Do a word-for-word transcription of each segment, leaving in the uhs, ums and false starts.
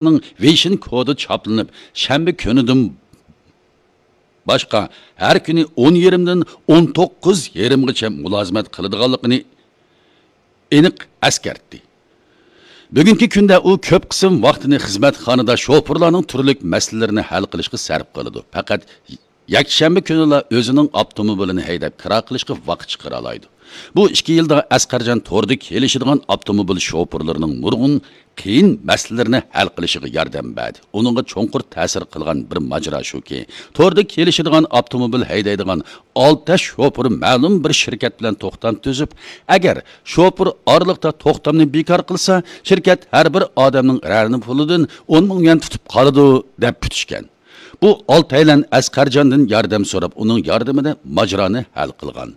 ۋېيشىن كودى چاپلىنىپ، شەنبە كۈنىدىن باشقا ھەر كۈنى ئون يېرىمدىن ئون توققۇز يېرىمغىچە مۇلازىمەت قىلىدىغانلىقىنى ئېنىق ئەسكەرتتى. بۈگۈنكى كۈندە ئۇ كۆپ قىسىم ۋاقتىنى خىزمەتخانىدا شوپۇرلارنىڭ تۈرلۈك مەسىلىلىرىنى ھەل قىلىشقا سەرپ قىلىدۇ. پەقەت يەكشەنبە كۈنىلا ئۆزىنىڭ ئاپتوموبىلىنى ھەيدەپ كىرا قىلىشقا ۋاقىت چىقىرالايدۇ. بۇ ئىككى يىلدا ئەسقەرجان توردا كېلىشىدىغان ئاپتوموبىل شوپۇرلىرىنىڭ نۇرغۇن قىيىن مەسىلىلىرىنى ھەل قىلىشىغا ياردەم بەردى. ئۇنىڭغا چوڭقۇر تەسىر قىلغان بىر ماجىرا شۇكى، توردا كېلىشىدىغان ئاپتوموبىل ھەيدەيدىغان ئالتە شوپۇر مەلۇم بىر شىركەت بىلەن توختام تۈزۈپ، ئەگەر شوپۇر ئارىلىقتا توختامنى بىكار قىلسا، شىركەت ھەر بىر ئادەمنىڭ رەنە پۇلىدىن ئون مىڭ يۈەن تۇتۇپ قالىدۇ، دەپ پۈتۈشكەن. بۇ ئالتەيلەن ئەسقەرجاندىن ياردەم سوراپ، ئۇنىڭ ياردىمىدە ماجىرانى ھەل قىلغان.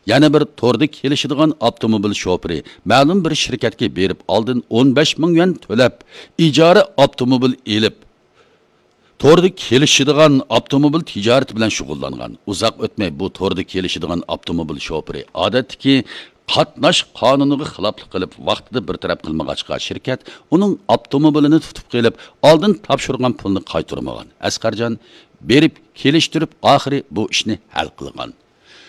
يەنە بىر توردا كېلىشىدىغان ئاپتوموبىل شوپۇرى مەلۇم بىر شىركەتكە بېرىپ، ئالدىن ئون بەش مىڭ يۈەن تۆلەپ، ئىجارە ئاپتوموبىل ئېلىپ، توردا كېلىشىدىغان ئاپتوموبىل تىجارىتى بىلەن شۇغۇللانغان. ئۇزاق ئۆتمەي بۇ توردا كېلىشىدىغان ئاپتوموبىل شوپۇرى ئادەتتىكى قاتناش قانۇنىغا خىلاپلىق قىلىپ، ۋاقتىدا بىر تەرەپ قىلمىغاچقا، شىركەت ئۇنىڭ ئاپتوموبىلىنى تۇتۇپ قېلىپ، ئالدىن تاپشۇرغان پۇلنى قايتۇرمىغان. ئەسقەرجان بېرىپ كېلىشتۈرۈپ، ئاخىرى بۇ ئىشنى ھەل قىلغان.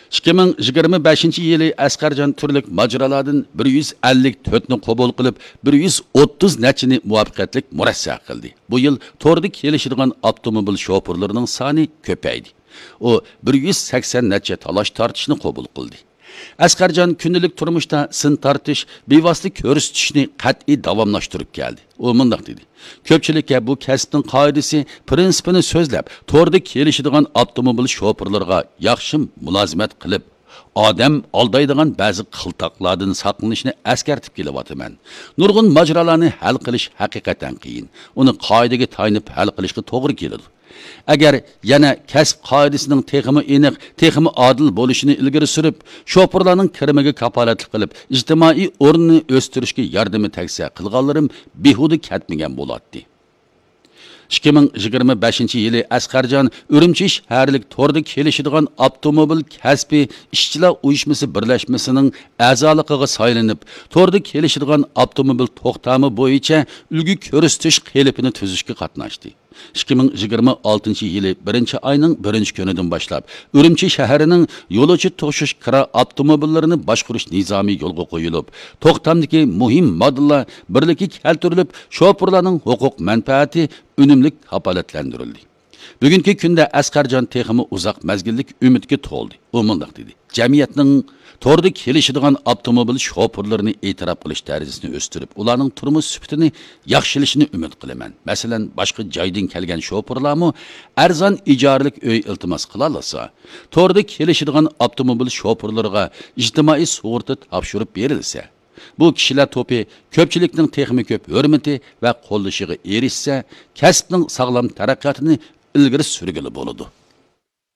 ئىككى مىڭ يىگىرمە بەشىنچى يىلى ئەسقەرجان تۈرلۈك ماجىرالاردىن بىر يۈز ئەللىك تۆتنى قوبۇل قىلىپ، بىر يۈز ئوتتۇز نەچچىنى مۇۋەپپەقىيەتلىك مۇرەسسە قىلدى. بۇ يىل توردا كېلىشىدىغان ئاپتوموبىل شوپۇرلىرىنىڭ سانى كۆپەيدى. ئۇ بىر يۈز سەكسەن نەچچە تالاش تارتىشنى قوبۇل قىلدى. ئەسقەرجان كۈندىلىك تۇرمۇشتا سىن تارتىش، بىۋاسىتە كۆرسىتىشنى قەتئىي داۋاملاشتۇرۇپ كەلدى. ئۇ مۇنداق دېدى: كۆپچىلىككە بۇ كەسىپنىڭ قائىدىسى، پىرىنسىپىنى سۆزلەپ، توردا كېلىشىدىغان ئاپتوموبىل شوپۇرلىرىغا ياخشى مۇلازىمەت قىلىپ، ئادەم ئالدايدىغان بەزى قىلتاقلاردىن ساقلىنىشنى ئەسكەرتىپ كېلىۋاتىمەن. نۇرغۇن ماجىرالارنى ھەل قىلىش ھەقىقەتەن قىيىن. ئۇنى قائىدىگە تايىنىپ ھەل قىلىشقا توغرا كېلىدۇ. ئەگەر يەنە كەسىپ قائىدىسىنىڭ تېخىمۇ ئېنىق، تېخىمۇ ئادىل بولۇشىنى ئىلگىرى سۈرۈپ، شوپۇرلارنىڭ كىرىمىگە كاپالەتلىك قىلىپ، ئىجتىمائىي ئورنىنى ئۆستۈرۈشكە ياردىمى تەگسە، قىلغانلىرىم بىھۇدە كەتمىگەن بولاتتى. ئىككى مىڭ يىگىرمە بەشىنچى يىلى ئەسقەرجان ئۈرۈمچى شەھەرلىك توردا كېلىشىدىغان ئاپتوموبىل كەسپى ئىشچىلار ئۇيۇشمىسى بىرلەشمىسىنىڭ ئەزالىقىغا سايلىنىپ، توردا كېلىشىدىغان ئاپتوموبىل توختامى بويىچە ئۈلگە كۆرسىتىش قېلىپىنى تۈزۈشكە قاتناشتى. ئىككى مىڭ يىگىرمە ئالتىنچى يىلى بىرىنچى ئاينىڭ بىرىنچى كۈنىدىن باشلاپ، ئۈرۈمچى شەھىرىنىڭ يولۇچى توشۇش كىرا ئاپتوموبىللىرىنى باشقۇرۇش نىزامى يولغا قويۇلۇپ، توختامدىكى مۇھىم ماددىلار بىرلىككە كەلتۈرۈلۈپ، شوپۇرلارنىڭ ھوقۇق مەنپەئەتى ئۈنۈملۈك كاپالەتلەندۈرۈلدى. بۈگۈنكى كۈندە ئەسقەرجان تېخىمۇ ئۇزاق مەزگىللىك ئۈمىدكە تولدى. ئۇ مۇنداق دېدى: جەمئىيەتنىڭ توردا كېلىشىدىغان ئاپتوموبىل شوپۇرلىرىنى ئېتىراپ قىلىش دەرىجىسىنى ئۆستۈرۈپ، ئۇلارنىڭ تۇرمۇش سۈپىتىنى ياخشىلىشىنى ئۈمىد قىلىمەن. مەسىلەن، باشقا جايدىن كەلگەن شوپۇرلارمۇ ئەرزان ئىجارىلىك ئۆي ئىلتىماس قىلالىسا، توردا كېلىشىدىغان ئاپتوموبىل شوپۇرلىرىغا ئىجتىمائىي سۇغۇرتا تاپشۇرۇپ بېرىلسە، بۇ كىشىلەر توپى كۆپچىلىكنىڭ تېخىمۇ كۆپ ھۆرمىتى ۋە قوللىشىغا ئېرىشسە، كەسىپنىڭ ساغلام تەرەققىياتىنى ئىلگىرى سۈرگىلى بولىدۇ.